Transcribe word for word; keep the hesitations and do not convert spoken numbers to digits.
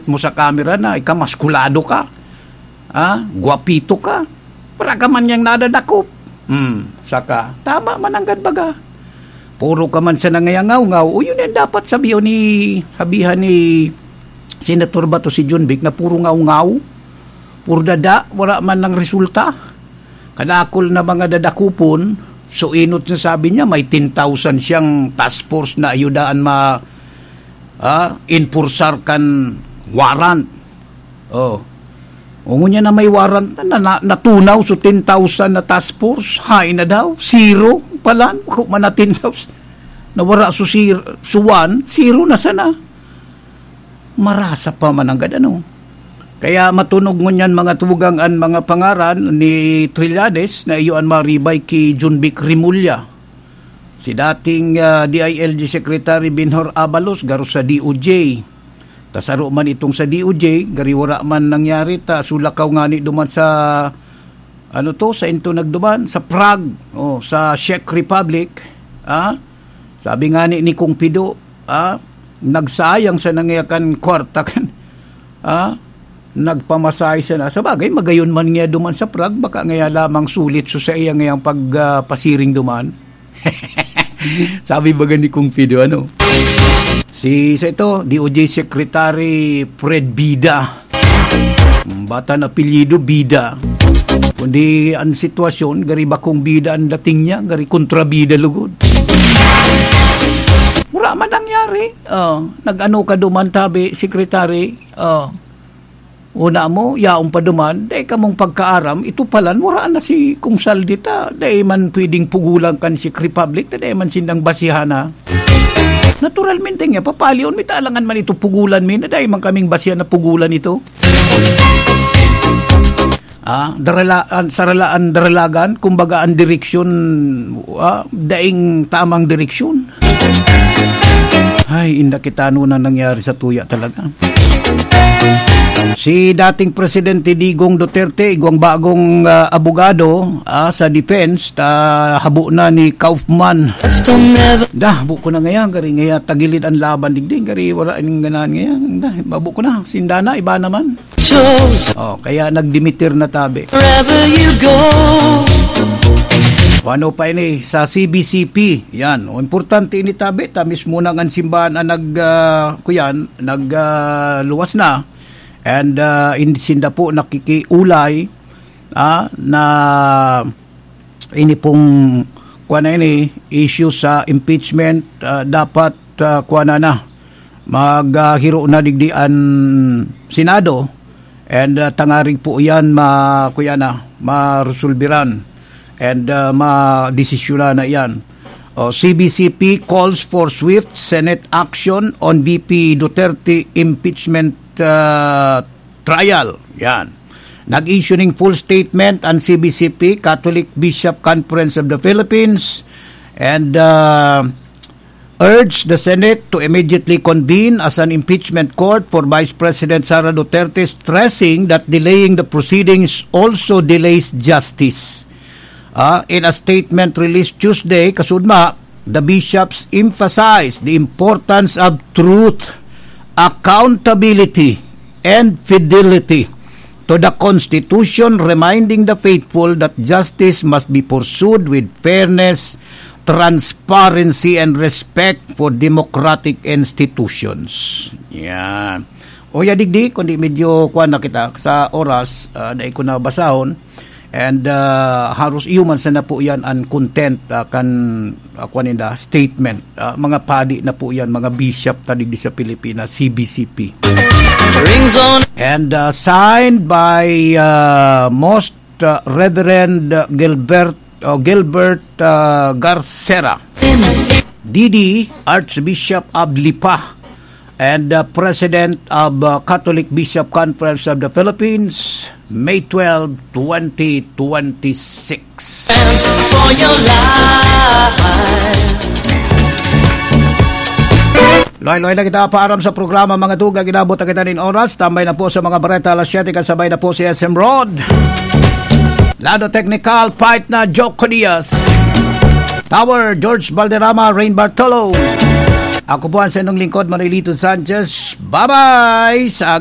mo sa kamera na ikamaskulado ka, ah, guwapito ka, wala ka man niyang nadadakop. Hmm, saka, tama man nanggad baga. Puro ka man sa nangayangaw-ngaw. O, yun yan dapat sabihin ni, sabihan ni Senator Bato si John Vic na puro ngaw-ngaw, puro dada, wala man nang resulta. Kadakol na mga dadakupon, so inot na sabi niya, may ten thousand siyang task force na ayudaan ma-, ah, enforcer kan warrant. Oh. O ngunyan na may warrant na, na, natunaw so ten thousand na task force, hain na daw, zero palan, kung man na ten thousand. Nawara so zero, so one, zero na sana. Marasa pa man ang gad, ano? Kaya matunog ngunyan mga tugang an mga pangaran ni Trillanes na iyo an maribay ki John Vic Remulla. Si dating, ah, D I L G Secretary Benhur Abalos garo sa D O J. Tasaro man itong sa D O J, gari wara man nangyari ta sulakaw ngani duman sa, ano to, sa into nagduman, sa Prague, o sa Czech Republic, ah? Sabi ngani ni Kong Pido, ah, nagsayang sa nangayakan kwarta kan, ah, nagpamasahe sana. Sa bagay, magayon man niya duman sa Prague, baka ngaya lamang sulit so sa iya ngayang pag, ah, pasiring duman. Sabi baga ni Kong Pido, ano? Si, sa ito, D O J Secretary Fred Bida. Bata na apelyido, Bida. Kundi ang sitwasyon, gari bakong bida ang dating niya, gari kontrabida lugod. Wala man nangyari. Oh, nag-ano ka duman, tabi, secretary? Oh. Una mo, yaon pa duman, dai kamong pagkaaram, ito palan, wala na si Kong Saldi ta, dai man pwedeng pugulan kan Czech Republic, ta dai man sindang basihan na. Naturalmente nga, papalion mi ta alangan man ito pugulan mi, na dai man kaming basihan na pugulan ito. Ah, darala-, an, saralaan, daralagan, kumbaga ang direksyon, ah, daing tamang direksyon. Ay, inda kita ano na nangyari sa tuya talaga. Si dating Presidente Digong Duterte, igwang bagong, ah, abogado, ah, sa defense, ta habo na ni Kaufman. Da, habo ko na ngayon, gari ngayon, tagilid ang laban, digdi, gari wala ning ganahan ngayon. Da, habo ko na, sinda na, iba naman. Oh, kaya nagdimitir na tabi. Wherever you go. O ano pa ini sa C B C P? Yan. O, importante ini tabi. Ta mismo nang an simbahan ang nag, ah, kuyan, nag, ah, luwas na. And, ah, in-, sinda po nakikiulay, ah, na ini pong, kuwan na ini, issue sa impeachment, ah, dapat, ah, kuwan na na. Maghiro na digdi an Senado, and, ah, tangarig po iyan ma-, kuya na, maresolbiran, and, ah, madesisyonan na iyan. O, C B C P calls for swift Senate action on V P Duterte impeachment, ah, trial. Yan. Nag-issue ning full statement an C B C P, Catholic Bishop Conference of the Philippines, and, ah, urged the Senate to immediately convene as an impeachment court for Vice President Sara Duterte, stressing that delaying the proceedings also delays justice. Ah, in a statement released Tuesday, kasudma, the bishops emphasized the importance of truth, accountability, and fidelity to the Constitution, reminding the faithful that justice must be pursued with fairness, transparency, and respect for democratic institutions. Yan. O ya digdi, kundi medyo kuwan na kita sa oras, ah, dai ko na basahon. And, ah, haros iyo man sana po yan ang content, ah, kan, ah, kuwan ninda, statement. Ah, mga padi na po yan, mga bishop ta digdi sa Pilipinas, C B C P. Rings on. And, ah, signed by, ah, Most, ah, Reverend Gilbert, oh, Gilbert, ah, Garcera, D D, Archbishop of Lipa, and, ah, President of, ah, Catholic Bishop Conference of the Philippines, May twelve, twenty twenty-six. For your life. Loy-loy na kita paaram sa programa, mga tugang, inabot na kita nin oras. Tambay na po sa mga bareta, alas siyete, kasabay na po si S M Rod. Lado Technical, fight na Joke Diaz. Tower, George Valderrama, Rain Bartolo. Ako po ang sa inyong lingkod, Marilito Sanchez. Bye-bye! Sa aga